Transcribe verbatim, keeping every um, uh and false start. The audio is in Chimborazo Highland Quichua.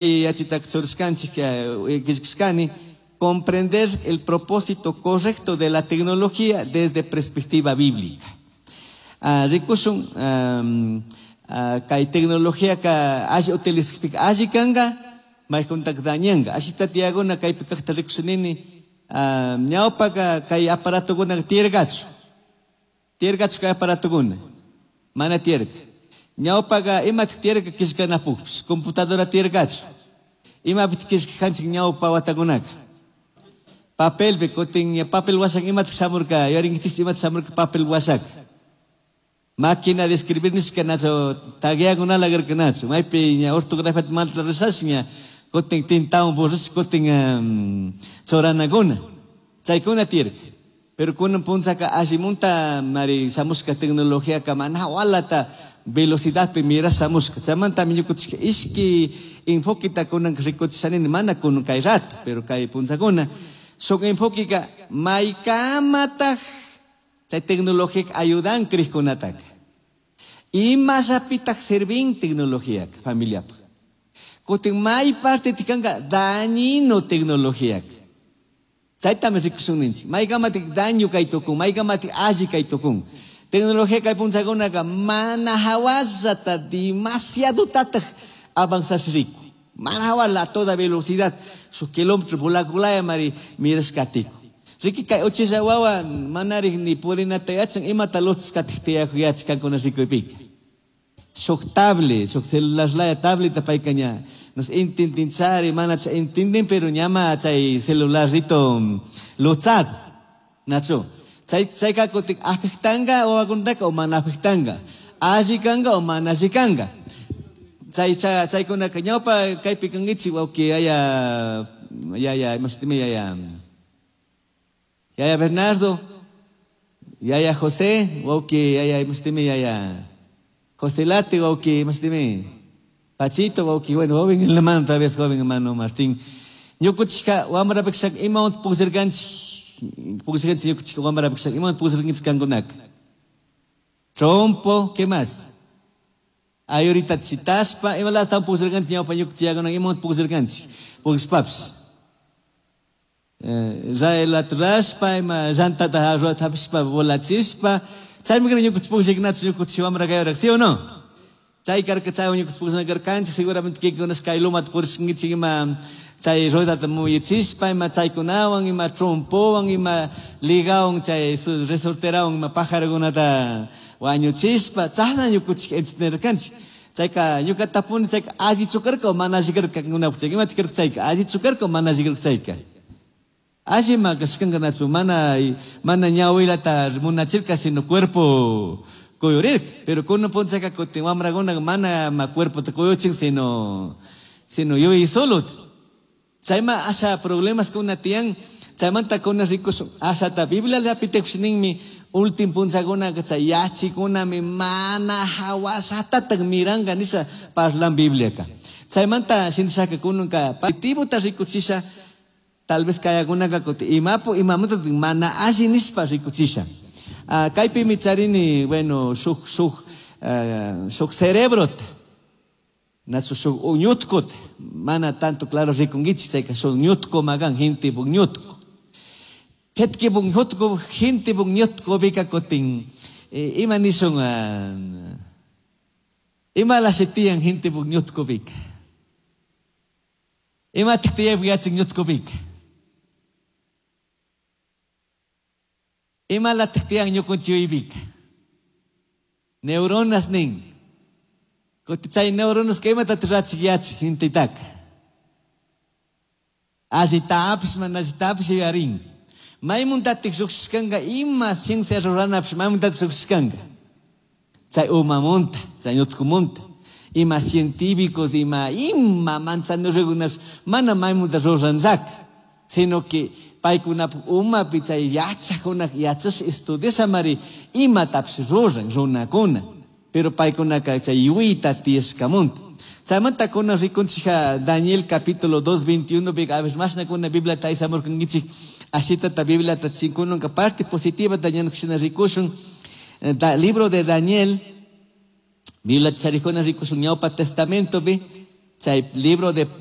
Yachitak churashkanchik killkashkani comprender el propósito correcto de la tecnología desde perspectiva bíblica. Uh, rikushun um, uh, kay tecnología ka alli utilizakpika alli kanka maykuntak dañanka. Ashita tiyaguna kaypi kaqta rikushunini uh, ñawpaka kay aparatokuna tiyarkachu. Tiyarkachu kay aparatokuna. Mana tiyarka. Ñawpaka imatik tiyarka killkanapukpis, computadora tiyarkachu. Imapik killkajanchik ñawpa watakunaka. Papelpi kutin papel washak imatik shamurka, yuyarinkichikchu imatik shamurka papel washak. Máquina de escribir nishka nacho, tagueakunala karka nacho. Maypi ña ortografiata manta rurashash ña kutin tintawan borrash kutin um, churanakuna. Chaykuna tiyarka. Pero kunan punchaka allimunta mari shamushka tecnología mana hawalata velocidadpi mirash shamushka. Chaymantami ñukunchik ishki enfoqueta kunan rikuchishanini mana kunan kay rato, pero kay punchakuna. Shuk enfoqueka maykamataj chay tecnología ayudan krishkunataka. Imallapitaj servin tecnología familiapaj. Kutin may parte tikanka dañino tecnología. Chaytami rikushun ninchik. Maykamatik daño kay tukun, maykamatik alli kay tukun. Tecnología kay punchakunaka mana hawallata demasiado tataj avanzash riku. Mana hawala a toda velocidad, su kilómetro volakulaya mari mirashkatiku. Riki kay uchilla wawa manarik ni purinata yachan imata lutzkatik tiyaku yachkankuna rikuypika. Shuk tablet, shuk celular laya tableta payka ña nos intendinchari, mana chay intendin, pero ñama chay celularrito lutzat. Nachu. Chay chayka kutik afectanga wawakunataka o mana afectanga. Alli kanga o mana alli kanga. Chay chay chaykunaka ñawpa kaypi kankichik wawki yaya yaya imashitimi yaya yaya Bernardo, yaya José, wawki yaya imashitimi yaya José Late, wawki imashitimi Pachito, wawki, bueno, joven en la mano, todavía es joven hermano Martín. Ñukuchika wamrapikshaka imawan pukllarkanchik, pukllarkanchik ñukuchika wamrapikshaka imawan pukllarkanchik kankunaka. Trompo, ¿qué más? Ay, ahorita chitashpa, imalata pukllarkanchik ñawpa ñukuchiyakuna imawan pukllarkanchik, pukllashpapish. Raylat rashpa, ima llantata hapishpa volachishpa, chaymi kara ñukuchik pukllaknachu ñukuchik wamra kaywarak, ¿sí o no? Chay karka chay ñukuchik pukllana karkanchik, seguramente kikunash kay lumata purishkankichik ima chay ruedata muyuchishpa, ima chaykunawan, ima trompowan, ima ligawan, chay resorterawan, ima pajarokunata wañuchishpa, chashna ñukuchik entretenerkanchik. Chayka ñuka tapuni chayka allichu karka o mana alli karka kankunapuk chayka, imata karka chayka, allichu karka o mana alli karka chayka. Alli ma kashkanka nachu, mana, mana ñawilata munachirka, sino cuerpo kuyurirka. Pero kunan punchaka kutin wamrakuna mana ma cuerpo ta kuyuchin, sino, sino yuyay solo. Chayma asha problemas kuna tiyan, chaymanta kuna rikushun, ashata Biblia llapitikush ninmi, ultim punchakuna chay yachikunami mana hawashatataq miranka nisha parlan Bibliaka. Chaymanta shintishaka kunanka positivo ta rikuchisha, tal vez kayakunaka kuti imapu imamuta mana alli nishpa rikuchisha. Uh, kaypimi charini, bueno, shuk, shuk, uh, shuk cerebrota, nachu shuk uñutkota, mana tanto claro rikunkichik, chayka shuk ñutko magan, gente puk ñutko. Hetki puk ñutko, gente puk ñutko bika kutin, eh, ima nishun, uh, ima lashitiyan gente puk ñutko bika. Ima tiktiyay yachik ñutko bika. Ima latiktiyan ñukunchiyuypika. Neuronas nin. Kuti chay neuronas ka imata rachik yachik gentetaka. Allitapish mana allitapish yuyarin. Maymuntatik lluqshishkanka ima ciencia ruranapish maymuntatik lluqshishkanka. Chay umamunta, chay ñutkumunta. Ima científicos, ima ima manzanurrikunapish mana maymunta ruranllaka. Sino que paykunapuk umapi chay yachakuna yachash estudiashamari imatapish ruran runakuna. Pero paykunaka chay yuyta tiyashkamunta. Chaymanta kuna rikunchika Daniel capítulo dos, veintiuno, a ver, mashna kuna Biblia taysamurkankichik, ashitata Biblia ta chinkununka parte positiva Daniel kishina rikushun. Da, libro de Daniel, Biblia charikuna rikushun ñawpa testamento bi, Chay libro de libro